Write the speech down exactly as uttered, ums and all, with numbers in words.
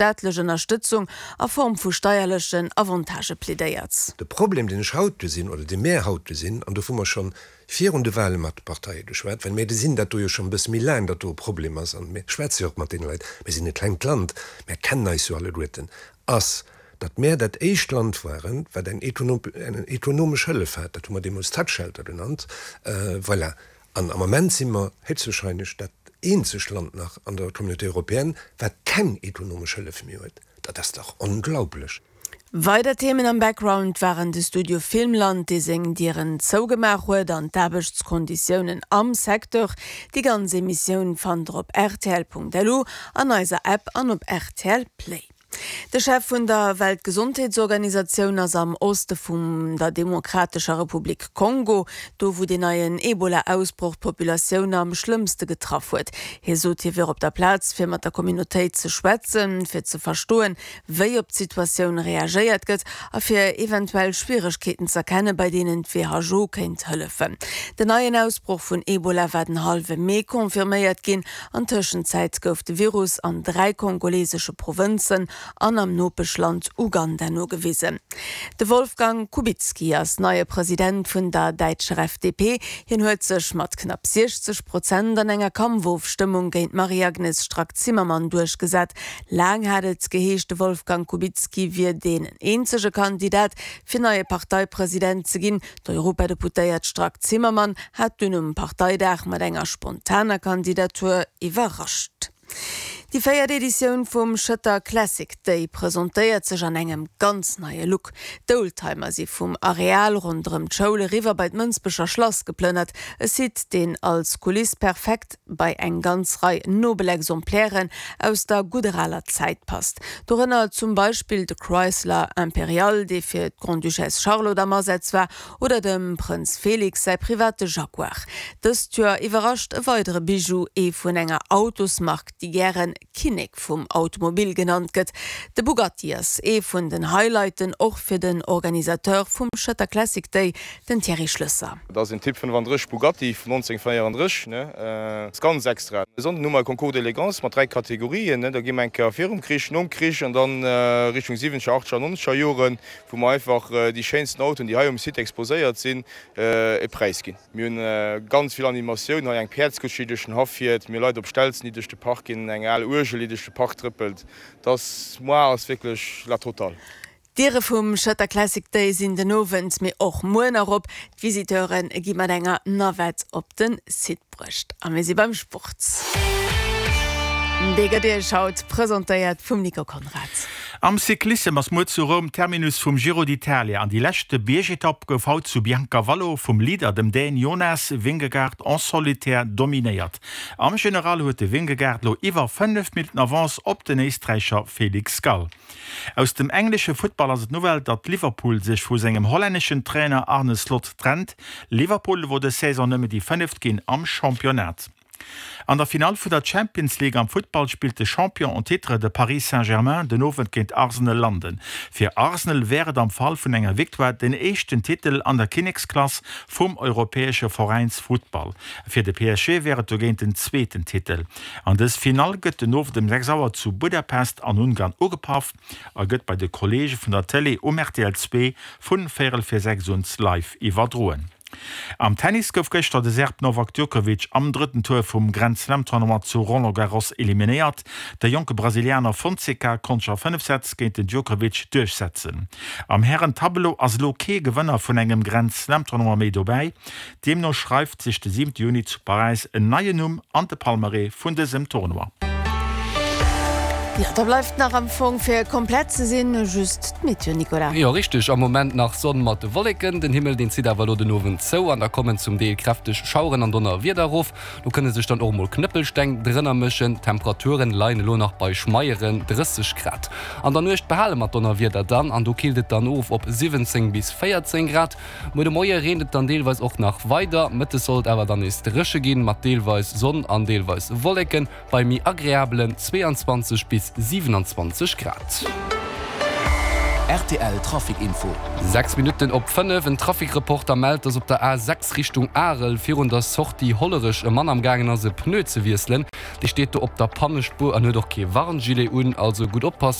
Staatlech Ënnerstëtzung a Form vu steierlechen Avantagë plädéiert. De Problem, deen ech haut gesinn, oder dee mär haut gesinn, an dovu mer schonn virun de Wahle mat de Parteie geschwat, well mär gesinn dat do jo schonn e bësse méi laang, datt do e Problem ass, an mir schwätze jo och mat deene Leit, mir sinn e klengt Land, mär kennen eis jo alleguerten, ass, datt mär dat éischt Land waren, wat eng ekonomesch Hëllef hat, dat hu mer deemools Tax Shelter genannt, voilà. An am Ament si mer héchstwahrscheinlech dat eenzegt Land nach an der Communauté européenne, wat keng ekonomesch Hëllef méi huet. Dat ass dach onglaublech! Weider Themen am Background waren de Studio Filmland, dee seng Dieren zougemaach huet, an d'Aarbechtskonditiounen am Secteur. Déi ganz Emissioun fannt der op rtl.lu, an eiser App an op rtl Play. De Chef vun der Weltgesondheetsorganisatioun ass am Oste vum der Demokratescher Republik Kongo, do wou deen neien Ebola-Ausbroch d'Populatioun am schlëmmste getraff huet. Hie sot, hie wier op der Plaz, fir mat der Communautéit ze schwätzen, fir ze verstoen, wéi op d'Situatioun reagéiert gëtt a fir eventuell Schwieregkeeten z'erkennen, bei deenen d'W H O kéint hëllefen. Den neien Ausbroch vun Ebola war den hallwe Mee confirméiert ginn. An Tëschenzäit gouf de Virus an dräi kongolesesche Provënzen an am Nopeschland Uganda nogewisen. De Wolfgang Kubicki ass neie President vun der däitscher F D P. Hien huet sech mat knapp siechzeg Prozent an enger Kampfofstëmmung géint d'Marie-Agnes Strack-Zimmermann duerchgesat. Laang hat et geheescht, de Wolfgang Kubicki wier deen eenzege Kandidat, fir neie Parteipresident ze ginn. D'Europadeputéiert Strack-Zimmermann hat dunn um Parteidag mat enger spontaner Kandidatur iwwerrascht. Déi véiert Editioun vum Schëtter Classic Day presentéiert sech an engem ganz neie Look. D'Oldtimer si vum Areal ronderëm d'Schoul eriwwer bei d'Mënsbecher Schlass geplënnert. E Site, deen als Kuliss perfekt bei eng ganz Rei nobel Exemplairen aus der gudder aler Zäit passt. Dorënner zum Beispill de Chrysler Imperial, dee fir d'Grande-Duchesse Charlotte am Asaz war, oder dem Prënz Félix säi private Jaguar. Dëst Joer iwwerrascht e weidere Bijou, ee vun enger Autosmark, déi gären Kinnek vum Automobil genannt gëtt. De Bugatti ass ee vun den Highlighten, och fir den Organisateur vum Schëtter Classic Day, den Thierry Schlösser. Dat ass en Typ fënnefandrësseg Bugatti vun nonzénhunnertvéierandrësseg, ne? Ass ganz extra. E Sonnden hu mer e Concours d'élégance mat dräi Kategorien, ne? Da gi mer eng Kéier virum Krich, nom Krich an dann Richtung siwwenzeger, achtzeger, nonzeger Joren, wou mer einfach déi schéinsten Autoen, déi hei um Site exposéiert sinn, e Präis ginn. Mir hunn ganz vill Animatioun hei, eng Päerdskutsch, déi duerch den Haff fiert, mir hu Leit op Stelzen, déi duerch de Park ginn, eng al Uergel, déi duerch de Park trëppelt. Dass moar ass wierklech la totale. D'Diere vum Schëtter Classic Day sinn den Owend, mee och muer nach op. D'Visiteure gi mat enger Navette op de Site bruecht. A mir si beim Sport. Dee gëtt Iech haut presentéiert vum Nico Conrad. Am Cyclissem ass muer zu Roum Terminus vum Giro d'Italia an déi leschte Biergetapp gouf haut zu Biancavallo vum Leader, dem Dän Jonas Vingegaard, en solitaire dominéiert. Am General huet de Vingegaard lo iwwer fënnef Minutten Avance op den Éisträicher Felix Gall. Aus dem englesche Futtball ass et d'Nouvelle, datt Liverpool sech vu sengem hollänneschen Trainer Arne Slot trennt. Liverpool wor dës Saison nëmme déi fënneft ginn am Championnat. An der Finall vun der Champions League am Futtball spillt de Champion en titre, de Paris Saint-Germain, den Owend géint Arsenal London. Fir Arsenal wär et am Fall vun enger Victoire den éischten Titel an der Kinneksklass vum europäesche Veräinsfuttball. Fir de P S G wär et dogéint den zweeten Titel. An dës Finall gëtt den Owend ëm sechs Auer zu Budapest an Ungarn ugepaff a gëtt bei de Kolleege vun der Tëlee um R T L zwee vun véierel vir sechs un live iwwerdroen. Am Tennis gouf gëschter de Serb Novak Djokovic am drëtten Tour vum Grand Slam Tournoi zu Roland Garros eliminéiert. De jonke Brasilianer Fonseca konnt sech a fënnef Sätz géint den Djokovic duerchsetzen. Am Hären-Tableau ass elo kee Gewënner vun engem Grand Slam Tournoi méi dobäi. Deemno schreift sech de siwente Juni zu Paräis en neien Numm an de Palmarès vun dësem Tournoi. Ja, da bleift nach am Fong fir komplett ze sinn just d'Meteo, Nicolas. Jo, richteg. Am Moment nach Sonn mat de Wolleken. Den Himmel, deen zitt awer elo den Owend zou an da kommen zum Deel kräfteg Schaueren an Donnerwieder erof. Do kënne sech dann och mol Knëppelsteng drënner mëschen. D'Temperaturen leien elo nach bei schmeieren drësseg Grad. An der Nuecht behale mer d'Donnerwieder dann an do killt et dann of op siwwenzéng bis véierzéng Grad. Muer de Moie reent et dann deelweis och nach weider. Mëttes soll et awer dann nees dréche ginn, mat deelweis Sonn an deelweis Wolleken bei méi agreabelen zweeanzwanzeg bis siewenundzwanzeg Grad. R T L Trafic Info. Sechs Minutten op fënnef, En Trafic-Reporter mellt, dass op der A sechs Richtung Arel virun der Sortie Hollerech e Mann am gaangen ass e Pneu ze wiesselen. Dee steet do op der Pannespuer an huet och kee Warngilet un, also gutt oppassen.